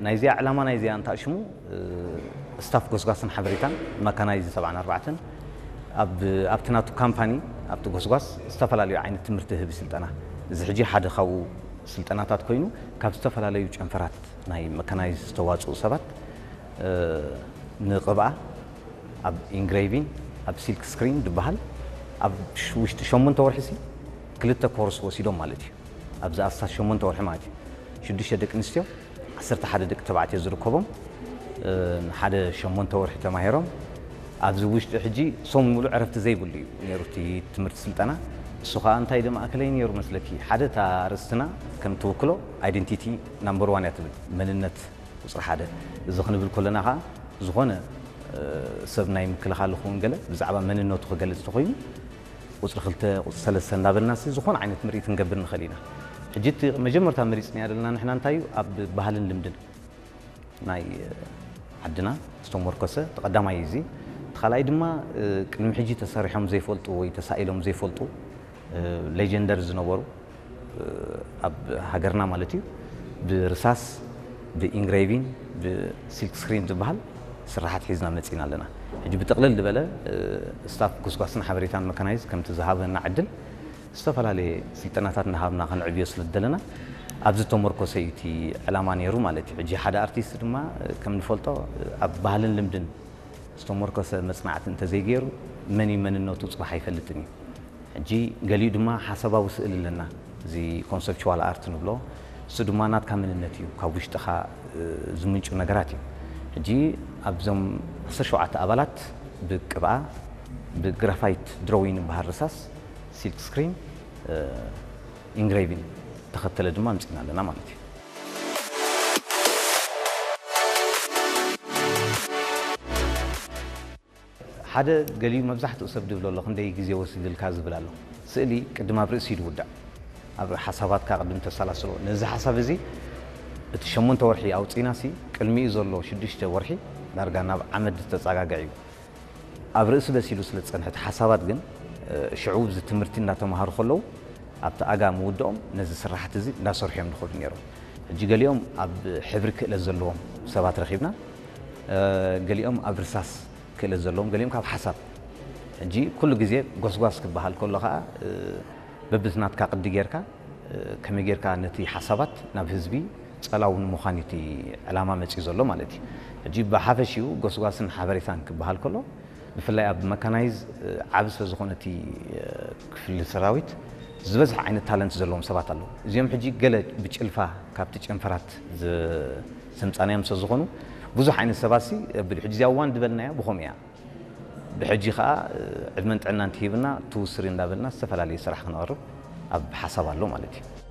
ናይዚኣ ዕላማ ናይዚኣ እንታይ ሽሙ፣ ስታፍ ጎስጓስን ሓበሬታን መካናይዝ ሰብዓን ኣርባዕተን ኣብቲ ናቱ ካምፓኒ ኣብቲ ጎስጓስ ዝተፈላለዩ ዓይነት ትምህርቲ ህቢ ስልጠና፣ እዚ ሕጂ ሓደ ካብኡ ስልጠናታት ኮይኑ ካብ ዝተፈላለዩ ጨንፈራት ናይ መካናይዝ ዝተዋፅኡ ሰባት ንቕብኣ ኣብ ኢንግሬቪን ኣብ ሲልክ ስክሪን ዝበሃል ኣብ ውሽጢ ሸሞንተ ወርሒ ሲ ክልተ ኮርስ ወሲዶም ማለት እዩ። ኣብዚ ኣስታት ሸሞንተ ወርሒ ማለት እዩ። ሽዱሽተ ደቂ ኣንስትዮ ዓሰርተ ሓደ ደቂ ተባዕትዮ ዝርከቦም ሓደ ሸሞንተ ወርሒ ተማሂሮም ኣብዚ ውሽጢ ሕጂ ሰሙን ሙሉእ ዕረፍቲ ዘይብሉ እዩ ነይሩ እቲ ትምህርቲ ስልጠና። እሱ ከዓ እንታይ ዶ ማእከለይ ነይሩ መስለኪ? ሓደ እታ ርእስትና ከም ትውክሎ ኣይደንቲቲ ናምበር ዋን እያ ትብል፣ መንነት ቁፅሪ ሓደ። እዚ ክንብል ከለና ከዓ ዝኾነ ሰብ ናይ ምክልኻል ይኹን ገለ ብዛዕባ መንነቱ ክገልፅ ተኮይኑ ቁፅሪ ክልተ ቁፅሪ ሰለስተ እንዳበልና ሲ ዝኾነ ዓይነት ምርኢት ክንገብር ንኽእል ኢና። ሕጂ እቲ መጀመርታ መሪፅናያ ዘለና ንሕና እንታይ እዩ ኣብ ባህልን ልምድን ናይ ዓድና ዝተሞርኮሰ ተቐዳማይ እዚ። እቲ ካልኣይ ድማ ቅድሚ ሕጂ ተሰሪሖም ዘይፈልጡ ወይ ተሳኢሎም ዘይፈልጡ ሌጀንደር ዝነበሩ ኣብ ሃገርና ማለት እዩ ብርሳስ ብኢንግሬቪን ብሲልክ ስክሪን ዝበሃል ስራሓት ሒዝና መፂና ኣለና። ሕጂ ብጥቕልል ዝበለ ስታፍ ጉስጓስን ሓበሬታን መካናይዝ ከምቲ ዝሃበና ዕድል ዝተፈላለየ ስልጠናታት እናሃብና ከነዕብዮ ስለ ዝደለና ኣብዚ ተመርኮሰ እዩ እቲ ዕላማ ነይሩ ማለት እዩ። ሕጂ ሓደ ኣርቲስት ድማ ከም ንፈልጦ ኣብ ባህልን ልምድን ዝተመርኮሰ መፅናዕቲ እንተዘይገይሩ መን እዩ መንነቱ ፅባሕ ኣይፈልጥን እዩ። ሕጂ ገሊኡ ድማ ሓሳባዊ ስእሊ ኣለና፣ እዚ ኮንሰፕቹዋል ኣርት ንብሎ። እሱ ድማ ናትካ መንነት እዩ፣ ካብ ውሽጥኻ ዝምንጩ ነገራት እዩ። ሕጂ ኣብዞም ዓሰርተ ሸውዓተ ኣባላት ብቅብኣ ብግራፋይት ድሮዊን ዝበሃል ርሳስ ሲልክ ስክሪን ኢንግሬቪን ተኸተለ ድማ ኣምፂና ኣለና ማለት እዩ። ሓደ ገሊኡ መብዛሕትኡ ሰብ ድብሎ ኣሎ ክንደይ ግዜ ወሲድልካ ዝብል ኣሎ። ስእሊ ቅድም ኣብ ርእሲ እዩ ዝውዳእ። ኣብ ሓሳባትካ ቅድም ተሰላስሎ። ነዚ ሓሳብ እዚ እቲ ሸሞንተ ወርሒ ኣውፂና ሲ ቅድሚኡ ዘሎ ሽዱሽተ ወርሒ ዳርጋ ናብ ዓመት ዝተፀጋግዕ እዩ። ኣብ ርእሲ በሲሉ ስለ ዝፀንሐ እቲ ሓሳባት ግን ሽዑ እዚ ትምህርቲ እንዳተምሃሩ ከለዉ ኣብቲ ኣጋ ምውድኦም ነዚ ስራሕቲ እዚ እንዳሰርሑ እዮም ዝኸዱ ነይሮም። ሕጂ ገሊኦም ኣብ ሕብሪ ክእለት ዘለዎም ሰባት ረኺብና፣ ገሊኦም ኣብ ርሳስ ክእለት ዘለዎም፣ ገሊኦም ካብ ሓሳብ። ሕጂ ኩሉ ግዜ ጎስጓስ ክበሃል ከሎ ከዓ በብቲ ናትካ ቅዲ ጌርካ ከመይ ጌርካ ነቲ ሓሳባት ናብ ህዝቢ ጸላው ንምዃን እዩ እቲ ዕላማ መጺኡ ዘሎ ማለት እዩ። ሕጂ ብሓፈሽኡ ጎስጓስን ሓበሬታን ክበሃል ከሎ ብፍላይ ኣብ መካናይዝ ዓቢ ስለ ዝኾነ እቲ ክፍሊ ሰራዊት ዝበዝሐ ዓይነት ታለንት ዘለዎም ሰባት ኣለዉ። እዚኦም ሕጂ ገለ ብጭልፋ ካብቲ ጨንፈራት ዘምጻናዮም ስለ ዝኾኑ ብዙሕ ዓይነት ሰባት ሲ ኣቢሉ ሕጂ እዚኣ ዋን ዝበልናያ ብኸምኡ እያ። ብሕጂ ኸኣ ዕድመን ጥዕናን ትሂብና ትውስሪ እንዳበልና ዝተፈላለየ ስራሕ ክነቕርብ ኣብ ሓሳብ ኣሎ ማለት እዩ።